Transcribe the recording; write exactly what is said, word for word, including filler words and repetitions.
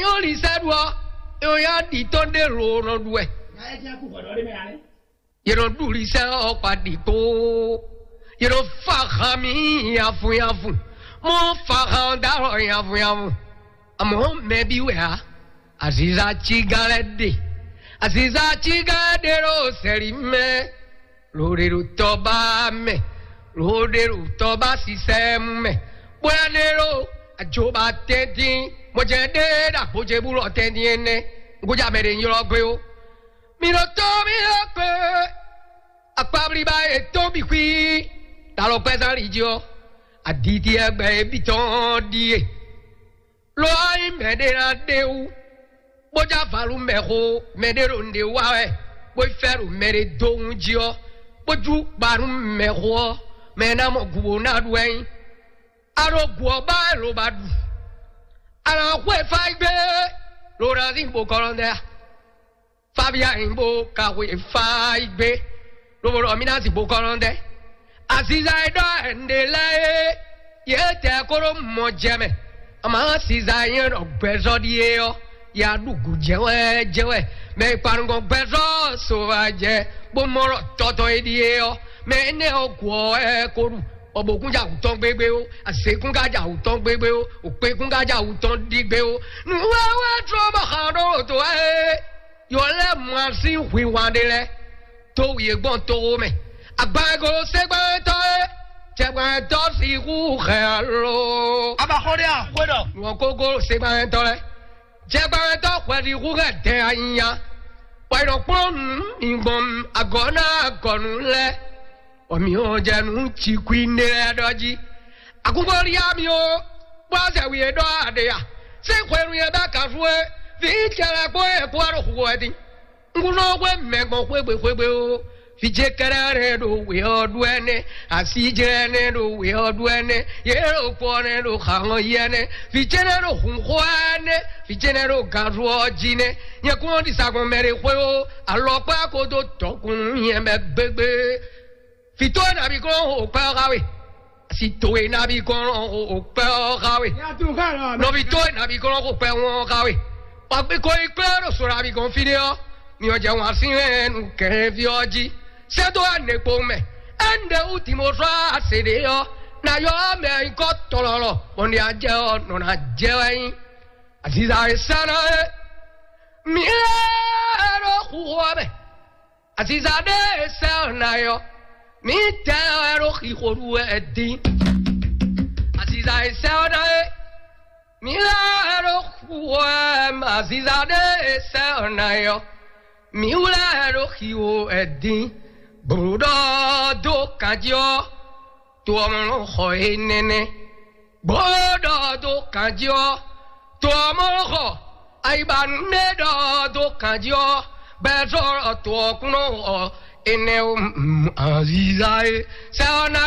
Yɔn li sɛ ɖu ɔ, yɔn ya ɖi tɔn ɖe lo nɔ ɖu wɛ. Yɛ nɔ ɖu li sɛ ɔ kpa ɖi kpo. Yɛ nɔ fa han mi yafu yafu. Mɔ fa han da lɔ yafu yafu. Amɔ mɛ bi wɛ a. Aziza ci gan lɛ ɖe. Aziza ci gan lɛ ɖe ɖo sɛli mɛ. Lǒɖeɖotɔ́ ba mɛ, lǒɖeɖotɔ́ ba sísɛ́mú mɛ, bóyá ɖé ɖo ajoba tɛ́ntin, mɔjɛ ɖé ɖo agbojebúlɔ tɛ́ntin énɛ́, un gújá mɛ ɖě nyí ylɔ́ gbé ó. Mi ɖo tó mi ɖo kpé, akpablíba yětɔn bǐ xwí, ɖo alɔkpɛ́zán li jí ɔ́, aditi e gbɛ é bǐ tɔn ɖíe. Lo ɔ́ nyí mɛɖé ná ɖe wú, bó já valú mɛ xo, mɛɖé ɖo nǔɖé wa wɛ, bó yi fɛ ɖo mɛɖé dó wún jí ɔ́, bó jú ba nú mɛ xo ɔ́, mɛ e ná mɔ gǔ bó ná ɖu wɛ nyí. A ɖo gǔ ɔ́ ba wɛ lo ba ɖu. A nǎ xwe fá yi gbé, lo ná zín bo kɔlɔndɛ a? Fabia nyí bó ka xwe fá yi gbé, lobo ɖɔ mí ná zín bo kɔlɔndɛ. Aziza e ɖɔ ɛnɖe lɛ́ɛ é, yě tɛ kó ɖó mɔ jɛ mɛ. Ama Aziza e nyɛ ɖɔ gbɛzɔ́ ɖíe ɔ́, ya ɖu gǔ jɛ wɛ jɛ wɛ. Mɛ e kpa nukɔn gbɛzɔ́ so wá jɛ, bó mɔ ɖɔ tɔtɔ e ɖíe ɔ́, mɛ énɛ́ ɔ́ gǔ ɔ́ wɛ ko ɖu. Bɔ bǒkún ja wǔtɔn gbégbé ó, azěkún ka ja wǔtɔn gbégbé ó, òkpékún ka ja wǔtɔn ɖígbé ó. Nǔwɛwɛ tró bɔ xa ɖó wǒ dó wá é. Yǒ lɛ́ mɔ así hwinhwan ɖé lɛ́ɛ, tó wǔ yě gbɔn toxo mɛ. Agban e golo ségbánwɛtɔ́ é, jɛgbánwɛtɔ́ sixú hɛn alo. A ba xɔ ɖé a? Xwé ɖɔ. Nǔ ɔ́ ko golo ségbánwɛtɔ́ lɛ́ɛ. Jɛgbánwɛtɔ́ hwɛɖixú hɛn dɛn anyanya, bɔ è nɔ kplɔ́n nǔ mi gbɔn agɔ̌ ná agɔ̌nú lɛ́ɛ, bɔ mǐ hɔn jɛ nǔ cikwi nɖé lɛ́ɛ ɖɔ jí. Akúngbóliá mi ó, bó azɛ wi e ɖɔ aɖe a? Sín hwenu e bɛ́ kanfú é, vǐ cɛlɛ kpó e kpó wá ɖo xu wɛ dín. Un kún nɔ hwe mɛ gbɔn xwégbe xwégbe ó. Vǐ ce kɛ́ɖɛ́ nɛ́ ɖo wě ɔ́ ɖu ɛnɛ́, así ce nɛ́ ɖo wě ɔ́ ɖu ɛnɛ́, yě ɖo kpɔ nɛ́ ɖo xaxɔn yi ɛnɛ́, vǐ ce nɛ́ ɖo hun xó ɛnɛ́, vǐ ce nɛ́ ɖo ganzu ɔ́ jí nɛ́. Nyɛ kún ɔ́ ɖi sa gbɔn mɛ ɖé xwé ó, alɔkpá ko dó dɔkun nú nyɛ mɛ gbégbé. Vǐ towe nabí kɔn xo kpɛ ɔ́ xá we. Si towe nabí kɔn xo kpɛ ɔ́ xá we. Nɔví towe nabí kɔn xo kpɛ wɔn ɔ́ xá we. Wǎ gbé ko yi kplé ɖo so nabí kɔn fí ɖé ɔ́, mi ɔ́ jɛ wǎn sín hɛn nú kɛhɛnví ɔ́ jí. Sɛ́ dó wá nɛ̌kpowun mɛ. Ɛ́nɖɛ wú Timɔfla se ɖě ɔ́, ná yɔ mɛ nyǐkɔ tɔlɔlɔ, bɔ ní a jɛ ɔ́, nɔ ná jɛ wɛ nyí. Aziza e sɛ́ ná é. Mǐ lɛ́ɛ ɖo xixo ɔ́ mɛ. Aziza ɖé e sɛ́ ɔ́ ná é ɔ́, mǐ tɛ ɔ́ wɛ ɖo xixo ɖu wɛ dín. Aziza e sɛ́ ɔ́ ná é. Mǐ lɛ́ɛ ɖo xixo wɛ mɛ aziza ɖé e sɛ́ ɔ́ ná é ɔ́, mǐ wlɛ́ ɖo xixo wɛ dín. Blǒ ɖɔ dó kanjí ɔ́, to ɔ́ mɔ nɔ xɔ énɛ́ nɛ́. Bó ɖɔ dó kanjí ɔ́, to ɔ́ mɔ nɔ xɔ ayiba nú nɛ ɖɔ dó kanjí ɔ́, bɛ́ zɔ to ɔ́ kún nɔ xɔ énɛ́ ó. Aziza e sɛ́ ɔ́ ná